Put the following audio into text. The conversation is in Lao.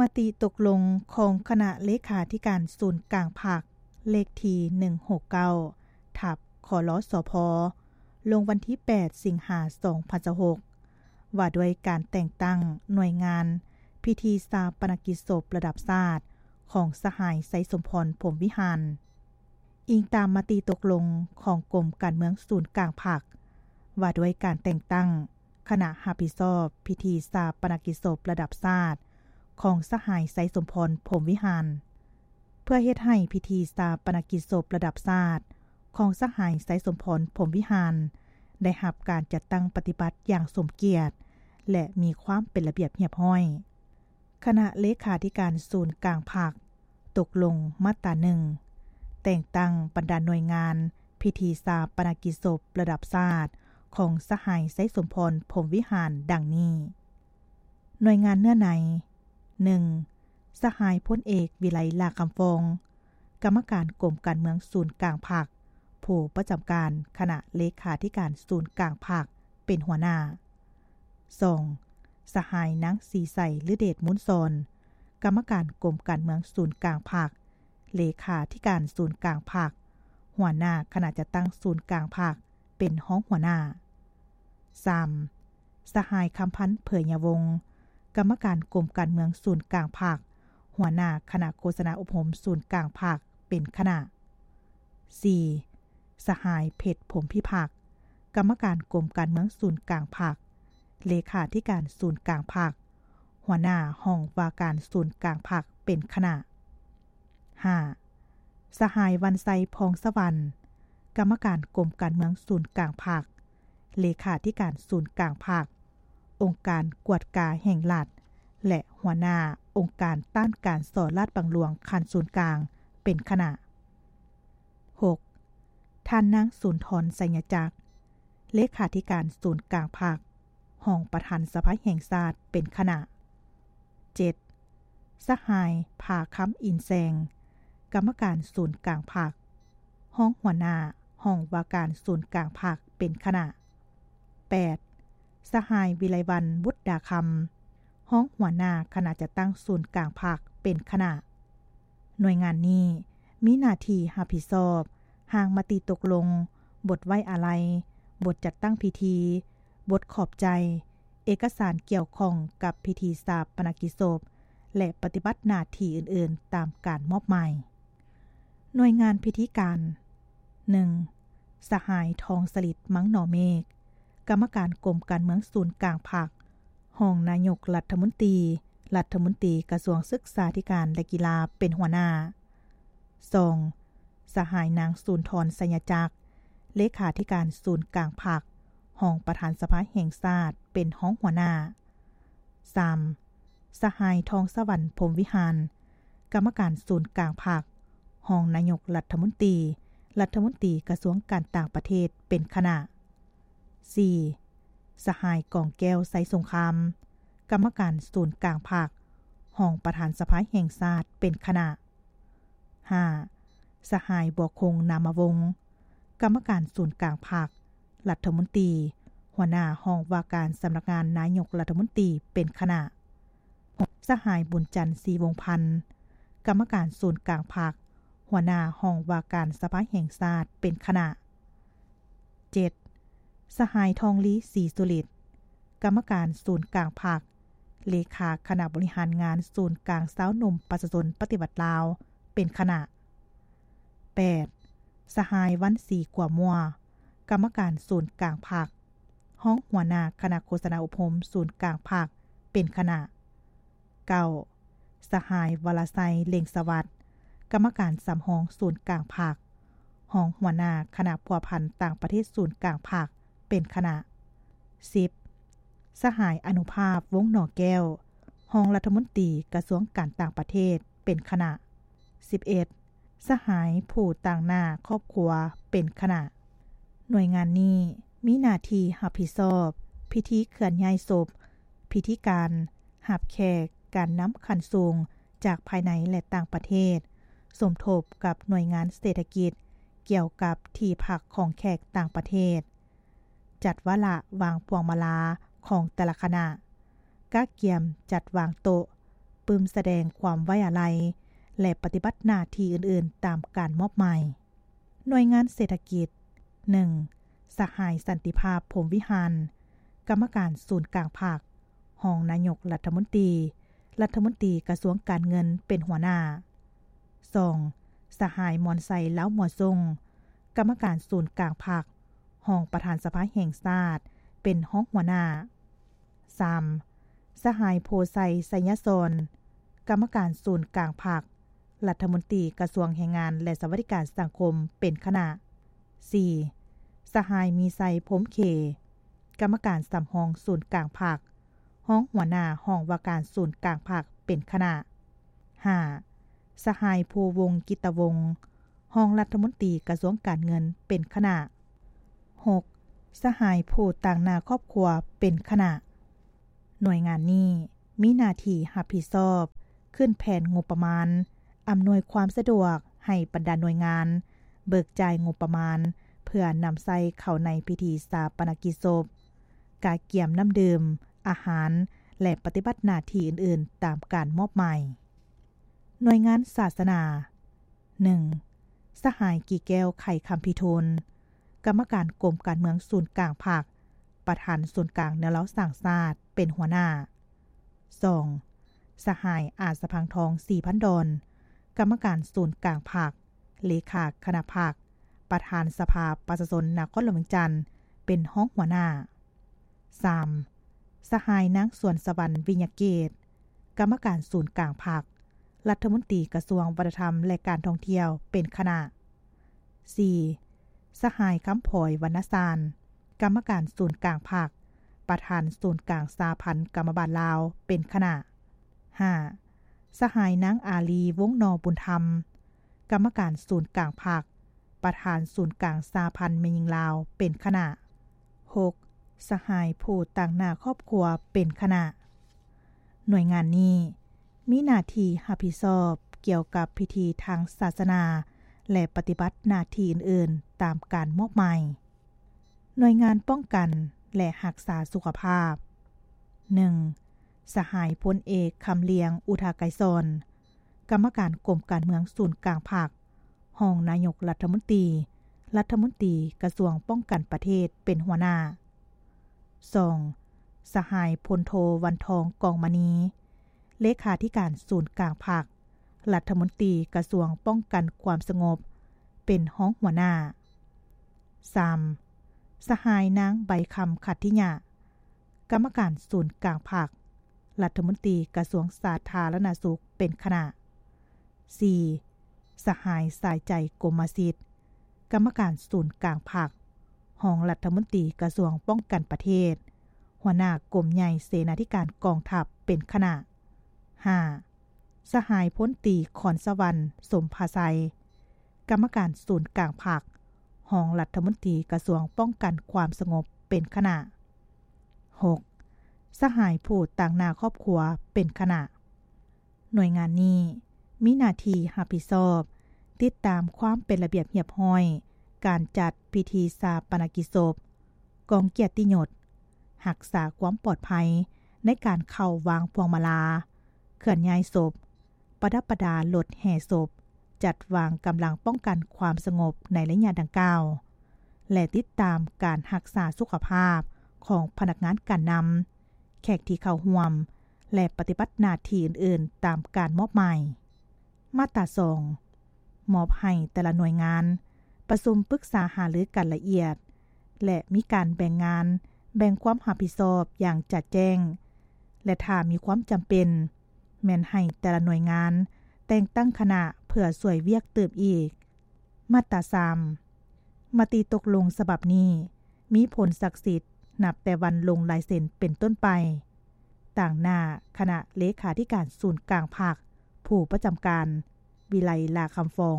ມະຕິຕົກລົງຂອງຄະນະເລຂາທິການສູນກາງພັກ ເລກທີໜຶ່ງຫົກເກົ້າ ທັບ ຄລສພ ລົງວັນທີແປດ ສິງຫາ ສອງພັນຊາວຫົກ ວ່າດ້ວຍການແຕ່ງຕັ້ງໜ່ວຍງານພິທີຊາປະນະກິດສົບລະດັບຊາດຂອງສະຫາຍ ໄຊສົມພອນ ພົມວິຫານ. ອີງຕາມມະຕິຕົກລົງຂອງກົມການເມືອງສູນກາງພັກ ວ່າດ້ວຍການແຕ່ງຕັ້ງຄະນະຮັບຜິດຊອບພິທີຊາປະນະກິດສົບລະດັບຊາດຂອງສະຫາຍ ໄຊສົມພອນ ພົມວິຫານ. ເພື່ອເຮັດໃຫ້ພິທີຊາປະນະກິດສົບລະດັບຊາດຂອງສະຫາຍ ໄຊສົມພອນ ພົມວິຫານ ໄດ້ຮັບການຈັດຕັ້ງປະຕິບັດຢ່າງສົມກຽດ ແລະ ມີຄວາມເປັນລະບຽບຮຽບຮ້ອຍ, ຄະນະເລຂາທິການສູນກາງພັກຕົກລົງມາດຕາໜຶ່ງ ແຕ່ງຕັ້ງບັນດາໜ່ວຍງານພິທີຊາປະນະກິດສົບລະດັບຊາດຂອງສະຫາຍ ໄຊສົມພອນ ພົມວິຫານ ດັ່ງນີ້. ໜ່ວຍງານເນື້ອໃນ ໜຶ່ງ ສະຫາຍ ພົນເອກ ວິໄລ ຫຼ້າຄຳຟອງ ກຳມະການກົມການເມືອງສູນກາງພັກ ຜູ້ປະຈຳການຄະນະເລຂາທິການສູນກາງພັກ ເປັນຫົວໜ້າ. ສອງ ສະຫາຍ ນາງ ສີໃສ ລືເດດມູນສອນ ກຳມະການກົມການເມືອງສູນກາງພັກ ເລຂາທິການສູນກາງພັກ ຫົວໜ້າຄະນະຈັດຕັ້ງສູນກາງພັກ ເປັນຮອງຫົວໜ້າ. ສາມ ສະຫາຍ ຄຳພັນ ເຜີຍຍາວົງ ກຳມະການກົມການເມືອງສູນກາງພັກ ຫົວໜ້າຄະນະໂຄສະນາອົບຮົມສູນກາງພັກ ເປັນຄະນະ. ສີ່ ສະຫາຍ ເພັດ ພົມພິພັກ ກຳມະການກົມການເມືອງສູນກາງພັກ ເລຂາທິການສູນກາງພັກ ຫົວໜ້າຫ້ອງວ່າການສູນກາງພັກ ເປັນຄະນະ. ຫ້າ ສະຫາຍ ວັນໄຊ ພອງສະຫວັນ ກຳມະການກົມການເມືອງສູນກາງພັກ ເລຂາທິການສູນກາງພັກ ອົງການກວດກາແຫ່ງລັດ ແລະ ຫົວໜ້າອົງການຕ້ານການສໍ້ລາດບັງຫຼວງຂັ້ນສູນກາງ ເປັນຄະນະ. ຫົກ ທ່ານນາງ ສຸນທອນ ໄຊຍະຈັກ ເລຂາທິການສູນກາງພັກ ຮອງປະທານສະພາແຫ່ງຊາດ ເປັນຄະນະ. ເຈັດ ສະຫາຍ ຜາຄຳ ອິນແຊງ ກຳມະການສູນກາງພັກ ຮອງຫົວໜ້າຫ້ອງວ່າການສູນກາງພັກ ເປັນຄະນະ. ແປດ ສະຫາຍ ວິໄລວັນ ບຸດດາຄຳ ຮອງຫົວໜ້າຄະນະຈັດຕັ້ງສູນກາງພັກ ເປັນຄະນະ. ໜ່ວຍງານນີ້ມີໜ້າທີ່ຮັບຜິດຊອບຮ່າງມະຕິຕົກລົງ, ບົດໄວ້ອາໄລ, ບົດຈັດຕັ້ງພິທີ, ບົດຂອບໃຈ, ເອກະສານກ່ຽວຂ້ອງກັບພິທີຊາປະນະກິດສົບ ແລະ ປະຕິບັດໜ້າທີ່ອື່ນໆຕາມການມອບໝາຍ. ໜ່ວຍງານພິທີການ ໜຶ່ງ ສະຫາຍ ທອງສະລິດ ມັງໜໍເມກ ກຳມະການກົມການເມືອງສູນກາງພັກ, ຮອງນາຍົກລັດຖະມົນຕີ, ລັດຖະມົນຕີກະຊວງສຶກສາທິການ ແລະ ກິລາ ເປັນຫົວໜ້າ. ສອງ ສະຫາຍ ນາງ ສູນທອນ ໄຊຍະຈັກ ເລຂາທິການສູນກາງພັກ, ຮອງປະທານສະພາແຫ່ງຊາດ ເປັນຮອງຫົວໜ້າ. ສາມ ສະຫາຍ ທອງສະຫວັນ ພົມວິຫານ ກຳມະການສູນກາງພັກ, ຮອງນາຍົກລັດຖະມົນຕີ, ລັດຖະມົນຕີກະຊວງການຕ່າງປະເທດ ເປັນຄະນະ. ສີ່ ສະຫາຍ ກອງແກ້ວ ໄຊສົງຄາມ ກຳມະການສູນກາງພັກ, ຮອງປະທານສະພາແຫ່ງຊາດ ເປັນຄະນະ. ຫ້າ ສະຫາຍ ບົວຄົງ ນາມະວົງ ກຳມະການສູນກາງພັກ, ລັດຖະມົນຕີ, ຫົວໜ້າຫ້ອງວ່າການສຳນັກງານນາຍົກລັດຖະມົນຕີ ເປັນຄະນະ. ຫົກ ສະຫາຍ ບຸນຈັນ ສີວົງພັນ ກຳມະການສູນກາງພັກ, ຫົວໜ້າຫ້ອງວ່າການສະພາແຫ່ງຊາດ ເປັນຄະນະ. ເຈັດ ສະຫາຍ ທອງລີ ສີສຸລິດ ກຳມະການສູນກາງພັກ, ເລຂາຄະນະບໍລິຫານງານສູນກາງຊາວໜຸ່ມປະຊາຊົນປະຕິວັດລາວ ເປັນຄະນະ. ແປດ ສະຫາຍ ວັນສີ ຂົວມົວ ກຳມະການສູນກາງພັກ, ຮອງຫົວໜ້າຄະນະໂຄສະນາອົບຮົມສູນກາງພັກ ເປັນຄະນະ. ເກົ້າ ສະຫາຍ ວະລະໄຊ ເລັງສະຫວັດ ກຳມະການສຳຮອງສູນກາງພັກ, ຮອງຫົວໜ້າຄະນະພົວພັນຕ່າງປະເທດສູນກາງພັກ ເປັນຄະນະ. ສິບ ສະຫາຍ ອະນຸພາບ ວົງໜໍແກ້ວ ຮອງລັດຖະມົນຕີກະຊວງການຕ່າງປະເທດ ເປັນຄະນະ. ສິບເອັດ ສະຫາຍ ຜູ້ຕາງໜ້າຄອບຄົວ ເປັນຄະນະ. ໜ່ວຍງານນີ້ມີໜ້າທີ່ຮັບຜິດຊອບພິທີເຄື່ອນຍ້າຍສົບ, ພິທີການຮັບແຂກ, ການນຳຂັ້ນສູງຈາກພາຍໃນ ແລະ ຕ່າງປະເທດ, ສົມທົບກັບໜ່ວຍງານເສດຖະກິດກ່ຽວກັບທີ່ພັກຂອງແຂກຕ່າງປະເທດ, ຈັດວາລະວາງພວງມາລາຂອງແຕ່ລະຄະນະ, ກະກຽມຈັດວາງໂຕະ, ປຶ້ມສະແດງຄວາມໄວ້ອາໄລ ແລະ ປະຕິບັດໜ້າທີ່ອື່ນໆຕາມການມອບໝາຍ. ໜ່ວຍງານເສດຖະກິດ ໜຶ່ງ ສະຫາຍ ສັນຕິພາບ ພົມວິຫານ ກຳມະການສູນກາງພັກ, ຮອງນາຍົກລັດຖະມົນຕີ, ລັດຖະມົນຕີກະຊວງການເງິນ ເປັນຫົວໜ້າ. ສອງ ສະຫາຍ ມອນໄຊ ລາວມົວຊົງ ກຳມະການສູນກາງພັກ, ຮອງປະທານສະພາແຫ່ງຊາດ ເປັນຮອງຫົວໜ້າ. ສາມ ສະຫາຍ ໂພໄຊ ໄຊຍະສອນ ກຳມະການສູນກາງພັກ, ລັດຖະມົນຕີກະຊວງແຮງງານ ແລະ ສະຫວັດດີການສັງຄົມ ເປັນຄະນະ. ສີ່ ສະຫາຍ ມີໄຊ ພົມເຂ ກຳມະການສຳຮອງສູນກາງພັກ, ຮອງຫົວໜ້າຫ້ອງວ່າການສູນກາງພັກ ເປັນຄະນະ. ຫ້າ ສະຫາຍ ພູວົງ ກິດຕະວົງ ຮອງລັດຖະມົນຕີກະຊວງການເງິນ ເປັນຄະນະ. ຫົກ ສະຫາຍຜູ້ຕາງໜ້າຄອບຄົວເປັນຄະນະ. ໜ່ວຍງານນີ້ມີໜ້າທີ່ຮັບຜິດຊອບຂຶ້ນແຜນງົບປະມານ, ອຳນວຍຄວາມສະດວກໃຫ້ບັນດາໜ່ວຍງານເບີກຈ່າຍງົບປະມານ ເພື່ອນຳໃຊ້ເຂົ້າໃນພິທີຊາປະນະກິດສົບ, ກະກຽມນ້ຳດື່ມ, ອາຫານ ແລະ ປະຕິບັດໜ້າທີ່ອື່ນໆຕາມການມອບໝາຍ. ໜ່ວຍງານສາສະໜາ. ໜຶ່ງ ສະຫາຍ ກີແກ້ວ ໄຂຄຳພິທູນ ກຳມະການກົມການເມືອງສູນກາງພັກ, ປະທານສູນກາງແນວລາວສ້າງຊາດ ເປັນຫົວໜ້າ. ສອງ ສະຫາຍ ອາດສະພັງທອງ ສີພັນດອນ ກຳມະການສູນກາງພັກ, ເລຂາຄະນະພັກ, ປະທານສະພາປະຊາຊົນນະຄອນຫຼວງວຽງຈັນ ເປັນຮອງຫົວໜ້າ. ສາມ ສະຫາຍ ນາງ ສວນສະຫວັນ ວິຍະເກດ ກຳມະການສູນກາງພັກ, ລັດຖະມົນຕີກະຊວງວັດທະນະທຳ ແລະ ການທ່ອງທ່ຽວ ເປັນຄະນະ. ສີ່ ສະຫາຍ ຄຳພອຍ ວັນນະຊານ ກຳມະການສູນກາງພັກ, ປະທານສູນກາງສະຫະພັນກຳມະບານລາວ ເປັນຄະນະ. ຫ້າ ສະຫາຍ ນາງ ອາລີ ວົງນໍບຸນທຳ ກຳມະການສູນກາງພັກ, ປະທານສູນກາງສະຫະພັນແມ່ຍິງລາວ ເປັນຄະນະ. ຫົກ ສະຫາຍຜູ້ຕາງໜ້າຄອບຄົວເປັນຄະນະ. ໜ່ວຍງານນີ້ມີໜ້າທີ່ຮັບຜິດຊອບກ່ຽວກັບພິທີທາງສາສະໜາ ແລະ ປະຕິບັດໜ້າທີ່ອື່ນໆຕາມການມອບໝາຍ. ໜ່ວຍງານປ້ອງກັນ ແລະ ຮັກສາສຸຂະພາບ. ໜຶ່ງ ສະຫາຍ ພົນເອກ ຄຳລຽງ ອຸທາໄກສອນ ກຳມະການກົມການເມືອງສູນກາງພັກ, ຮອງນາຍົກລັດຖະມົນຕີ, ລັດຖະມົນຕີກະຊວງປ້ອງກັນປະເທດ ເປັນຫົວໜ້າ. ສອງ ສະຫາຍ ພົນໂທ ວັນທອງ ກອງມະນີ ເລຂາທິການສູນກາງພັກ, ລັດຖະມົນຕີກະຊວງປ້ອງກັນຄວາມສະຫງົບ ເປັນຮອງຫົວໜ້າ. ສາມ ສະຫາຍ ນາງ ໃບຄຳ ຂັດທິຍະ ກຳມະການສູນກາງພັກ, ລັດຖະມົນຕີກະຊວງສາທາລະນະສຸກ ເປັນຄະນະ. ສີ່ ສະຫາຍ ສາຍໃຈ ກົມມະສິດ ກຳມະການສູນກາງພັກ, ຮອງລັດຖະມົນຕີກະຊວງປ້ອງກັນປະເທດ, ຫົວໜ້າກົມໃຫຍ່ເສນາທິການກອງທັບ ເປັນຄະນະ. ຫ້າ ສະຫາຍ ພົນຕີ ຂອນສະຫວັນ ສົມພາໄຊ ກຳມະການສູນກາງພັກ, ຮອງລັດຖະມົນຕີກະຊວງປ້ອງກັນຄວາມສະຫງົບ ເປັນຄະນະ. ຫົກ ສະຫາຍຜູ້ຕາງໜ້າຄອບຄົວ ເປັນຄະນະ. ໜ່ວຍງານນີ້ມີໜ້າທີ່ຮັບຜິດຊອບຕິດຕາມຄວາມເປັນລະບຽບຮຽບຮ້ອຍການຈັດພິທີຊາປະນະກິດສົບ, ກອງກຽດຕິຍົດ, ຮັກສາຄວາມປອດໄພໃນການເຂົ້າວາງພວງມາລາ, ເຄື່ອນຍ້າຍສົບ, ປະດັບປະດາລົດແຫ່ສົບ, ຈັດວາງກຳລັງປ້ອງກັນຄວາມສະຫງົບໃນໄລຍະດັ່ງກ່າວ ແລະ ຕິດຕາມການຮັກສາສຸຂະພາບຂອງພະນັກງານການນຳ, ແຂກທີ່ເຂົ້າຮ່ວມ ແລະ ປະຕິບັດໜ້າທີ່ອື່ນໆຕາມການມອບໝາຍ. ມາດຕາສອງ ມອບໃຫ້ແຕ່ລະໜ່ວຍງານປະຊຸມປຶກສາຫາລືກັນລະອຽດ ແລະ ມີການແບ່ງງານ, ແບ່ງຄວາມຮັບຜິດຊອບຢ່າງຈະແຈ້ງ ແລະ ຖ້າມີຄວາມຈຳເປັນ ແມ່ນໃຫ້ແຕ່ລະໜ່ວຍງານແຕ່ງຕັ້ງຄະນະເພື່ອຊ່ວຍວຽກຕື່ມອີກ. ມາດຕາສາມ ມະຕິຕົກລົງສະບັບນີ້ມີຜົນສັກສິດນັບແຕ່ວັນລົງລາຍເຊັນເປັນຕົ້ນໄປ. ຕາງໜ້າຄະນະເລຂາທິການສູນກາງພັກ, ຜູ້ປະຈຳການ ວິໄລ ຫຼ້າຄຳຟອງ.